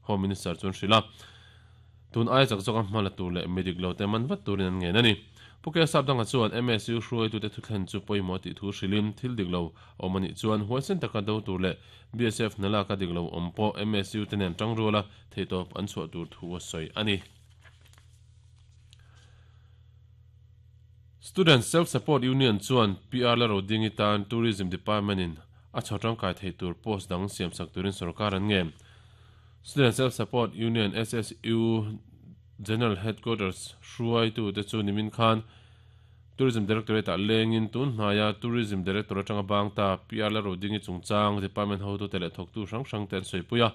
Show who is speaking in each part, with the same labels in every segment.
Speaker 1: Home Minister chuan hrilh a. Tun aia chak zawka hma la tur leh mi dik lo te man vat turin an ngen a ni. Pu K Sapdanga chuan MSU hruaitute thutthlen chu pawimawh tih thu hrilhin thil dik lo awm a nih chuan huaisen taka do tur leh BSF hna laka dik lo awm pawh MSU te nen tangruala theihtawp an chhuah tur thu a sawi a ni. Student Self Support Union chuan PR la rodingi tan Tourism Department in a chho tangkai theih tur post dang siamsak turin sorkar an ngen. Student Self Support Union, SSU, General Headquarters hruaitute chu nimin khan Tourism Directorate-ah lengin tun hnaia Tourism Director atanga bang ta PR Lalrodingi chungchang department hotute leh thawktu hrang hrangte an sawipui a.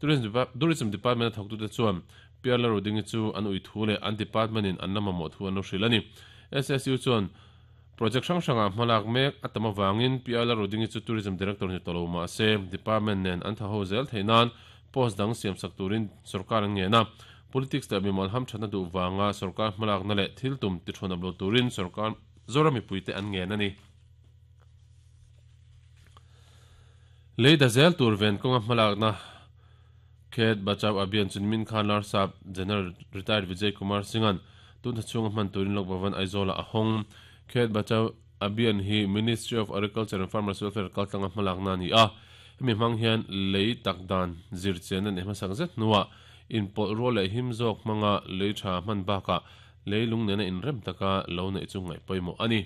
Speaker 1: Tourism Department-a thawktute chuan PR Lalrodingi chu an ui thu leh an department-in an la mamawh thu an lo hrilh a ni. SSU chuan Project hrang hrangah hmalak mek a tam avangin Pi Ala Rudingi chu Tourism Director ni tawh lo mah se, Department nen an tha ho zel theih nan post dang siamsak turin sorkar an ngen a. Politics leh mimal hamthatna duh vanga sorkar hmalakna leh thil tum tithawnap lo turin sorkar Zoram mipuite an ngen a ni. Lei da zel tur ven kawnga hmalakna Khet Bachao Abhiyan chu nimin khan Larsap General Retired Vijay Kumar Singh-a'n tun thla chhunga hman turin Lok Bhavan Aizawl-ah a hawng. Khet Bachao Abhiyan hi Ministry of Agriculture and Farmers Welfare kaltlanga hmalakna a ni a, hemi hmang hian lei tak dan zir chian a neih hmasak zet hnuah inpawlh rual leh him zawk hmanga lei tha hman bakah lei lung nena inrem taka lo neih chu ngaih pawimawh a ni.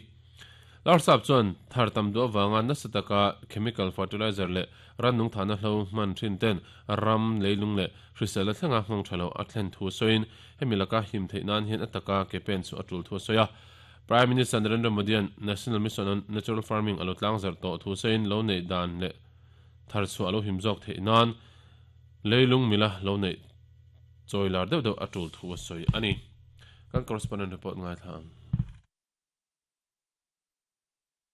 Speaker 1: Larsap chuan thar tam duh avanga nasa taka chemical fertilizer leh rannung thahna hlo hman thin ten ram, leilung leh hriselna thlenga nghawng tha lo a thlen thu sawiin hemi laka him theih nan hian a taka ke pen chu a tul thu a sawi a. Prime Minister Narendra Modi-a'n National Mission on Natural Farming a lo tlangzarh tawh thu sawiin lo neih dan leh thar chhuah a lo him zawk theih nan leilung mila lo neih chawi lar deuh deuh a tul thu a sawi a ni. Kan correspondent report ngaithla ang.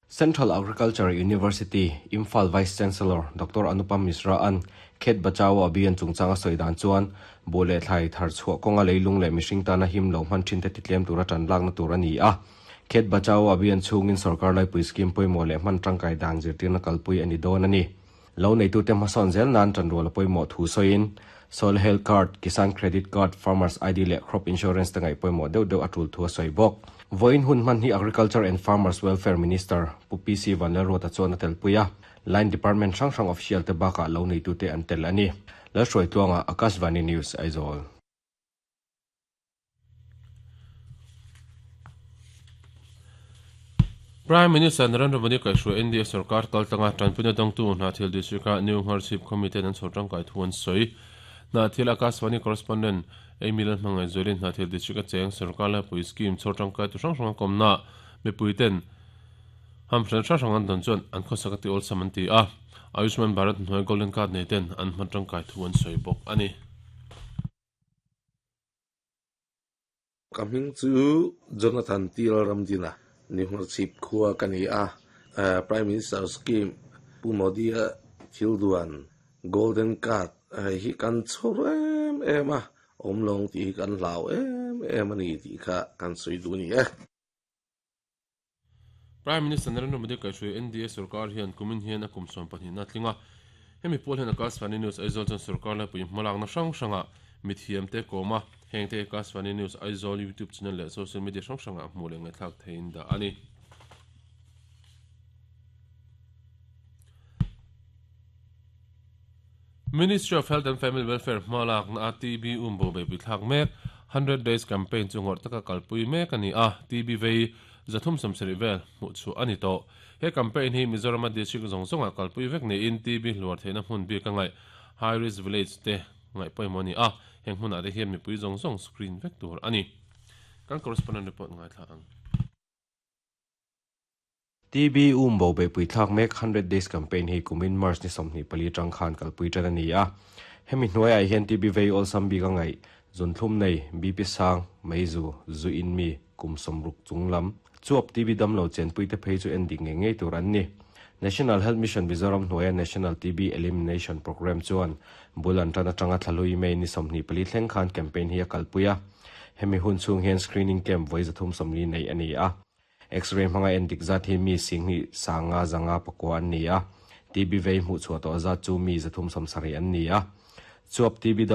Speaker 2: Central Agriculture University, Imphal Vice Chancellor Doctor Anupam Mishra-a'n Khet Bachao Abhiyan chungchang a sawi dan chuan buh leh thlai thar chhuah kawnga leilung leh mihring tana him lo hman thin te titlem tura tan lakna tur a ni a. Khet Bachao Abhiyan chhungin sorkar laipui scheme pawimawh leh hman tangkai dan zirtirna kalpui a ni dawn a ni. Lo neitute hmasawn zel nan tanrual a pawimawh thu sawiin, Soil Health Card, Kisan Credit Card, Farmers ID leh Crop Insurance te ngaih pawimawh deuh deuh a tul thu a sawi bawk. Vawiin hun hman hi Agriculture and Farmers Welfare Minister Pu PC Vanlalruata chuan a telpui a, Line Department hrang hrang official te bakah lo neitute an tel a ni. Lalhruaitluanga, Akashvani News, Aizawl.
Speaker 1: Prime Minister Narendra Modi kaihhruai NDA sorkar kaltlanga tanpuina dawngtu Hnahthial District-a New Ngharchhip khaw miten an chhawr tangkai thu an sawi. Hnahthial Akashvani Correspondent Amy Lalhmangaihzualin Hnahthial District-a cheng sorkar laipui scheme chhawr tangkai tu hrang hrang a kawmnaah mipuiten hamhran hrang hrang an dawn chuan an khawsak a ti awlsam an ti a, Ayushman Bharat hnuai Golden Card neiten an hman tangkai thu an sawi bawk a ni.
Speaker 3: Ka hming chu Jonathan Til Ramdina, Nihmawrchhip khua ka ni a. Prime Minister Scheme Pu Modi-a thil duan Golden Card hi kan chhawr em em a, awm lawng tih hi kan hlau em em a ni tih kha kan sawi duh a ni e.
Speaker 1: Prime Minister Narendra Modi kaihhruai NDA sorkar hian kumin hian a kum 12 na tling a. Hemi pawl hian Akashvani News Aizawl chuan sorkar laipui hmalakna hrang hrangah mithiamte kawm a, hengte Akashvani News Aizawl YouTube channel leh social media hrang hrangah hmuh leh ngaihthlak theihin dah a ni. Ministry of Health and Family Welfare hmalakna a TB umbo beihpui thlak mek Hundred Days Campaign chu ngawrh taka kalpui mek a ni a, TB vei 370 vel hmuh chhuah a ni tawh. He campaign hi Mizorama district zawng zawngah kalpui vek niin TB hluar theihna hmun bik a ngaih High Risk Village te ngaih pawimawh a ni a, heng hmunah te hian mipui zawng zawng screen vek tur a ni. Kan correspondent report ngaithla ang.
Speaker 2: TB um bo beihpui thlak mek Hundred Days Campaign hi kumin March ni 24 atang khan kalpui tan a ni a. Hemi hnuaiah hian TB vei awlsam bik a ngaih, zuntlum nei, BP sang, meizu, zu in mi, kum 60 chung lam, chuap TB damlo chenpui te phei chu en dik ngei ngei tur an ni. National Health Mission Mizoram hnuaia National TB Elimination Programme chuan bul an tan atanga thlahlui May ni 24 thleng khan campaign hi a kalpui a. Hemi hun chhung hian screening camp vawi 340 neih a ni a. X-ray hmanga en dik zat hi mi 10,000 500 509 an ni a, TB vei hmuh chhuah tawh zat chu mi 370 an ni a. Chuap TB dam.